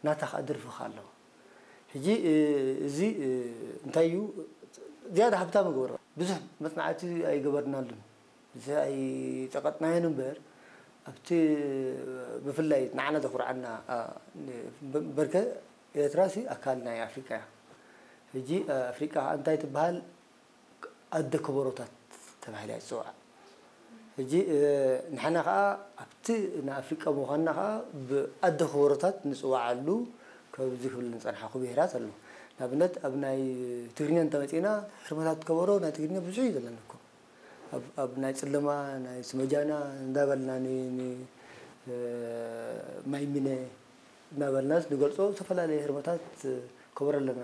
ናታ ከዓ ደርፊ ከዓ ኣለዎ። ሕጂ እዚ እንታይ እዩ ዝያዳ ሃብታም ይገብሮ? ብዙሕ መፅናዕቲ ኣይገበርናሉን፣ ብዙሕ ኣይፀቐጥናዮን እምበር ኣብቲ ብፍላይ ንዓና ዘኹርዓና በርከ ኤርትራ ሲ ኣካል ናይ ኣፍሪቃ እያ። ሕጂ ኣፍሪቃ ከዓ እንታይ ትበሃል? ኣደ ከበሮታት ተባሂላ እያ ትፅዋዕ። ሕጂ ንሕና ከዓ ኣብቲ ንኣፍሪቃ ምዃንና ከዓ ብኣደ ከበሮታት ንፅዋዓሉ። ከዚ ክብል ንፀናሓኹ ብሄራት ኣሎ። ንኣብነት ኣብ ናይ ትግርኛ እንተመፂና ህርመታት ከበሮ ናይ ትግርኛ ብዙሕ እዩ ዘለና እኮ። ኣብ ናይ ፅለማ ናይ ስመጃና እንዳበልና ማይሚነ እናበልናስ ንገልፆ ዝተፈላለየ ህርመታት ከበሮ ኣለና።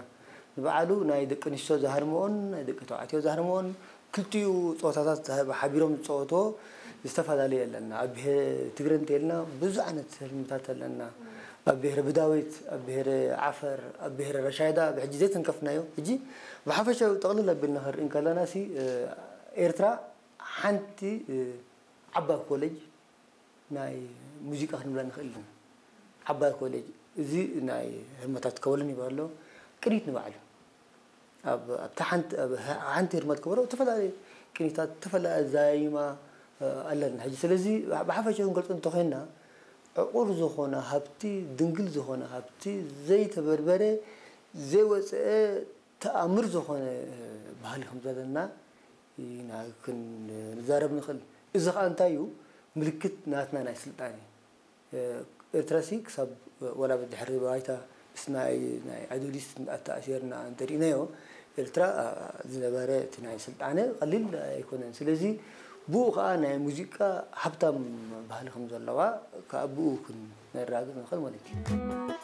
ንባዕሉ ናይ ደቂ ኣንስትዮ ዝሃርምኦን ናይ ደቂ ተባዕትዮ ዝሃርምኦን ክልቲኡ ፀወታታት ሓቢሮም ዝፀወትዎ ዝተፈላለየ ኣለና። ኣብ ብሄረ ትግረ እንተልና ብዙሕ ዓይነት ህርምታት ኣለና። ኣብ ብሄረ ብዳዊት፣ ኣብ ብሄረ ዓፈር፣ ኣብ ብሄረ ረሻይዳ ብሕጂ ዘይተንከፍናዮ። ሕጂ ብሓፈሻዊ ጠቕልል ኣቢልና ክንርኢ እንከለና ሲ ኤርትራ ሓንቲ ዓባይ ኮሌጅ ናይ ሙዚቃ ክንብላ ንኽእል ኢና። ዓባይ ኮሌጅ እዚ ናይ ህርመታት ከበሮን ይበሃል ኣሎ። ቅኒት ንባዕሉ ኣብታ ሓንቲ ህርመት ከበሮ ዝተፈላለዩ ቅኒታት፣ ዝተፈላለዩ ኣዛይማ ኣለና። ሕጂ ስለዚ ብሓፈሻ ክንገልፆ እንተኮይና ዕቑር ዝኾነ ሃብቲ፣ ድንግል ዝኾነ ሃብቲ፣ ዘይተበርበረ ዘይወፀአ ተኣምር ዝኾነ ባህሊ ከም ዘለና ኢና ክንዛረብ ንኽእል። እዚ ከዓ እንታይ እዩ? ምልክት ናትና ናይ ስልጣነ። ኤርትራሲ ክሳብ ወላ ብድሕሪ ባይታ ምስ ናይ ኣዱሊስ ኣተኣሲርና እንተሪእናዮ ኤርትራ ዝነበረ እቲ ናይ ስልጣነ ቀሊል ኣይኮነን። ስለዚ ብኡ ከዓ ናይ ሙዚቃ ሃብታም ባህሊ ከም ዘለዋ ከዓ ብኡ ክነራግፅ ንኽእል ማለት እዩ።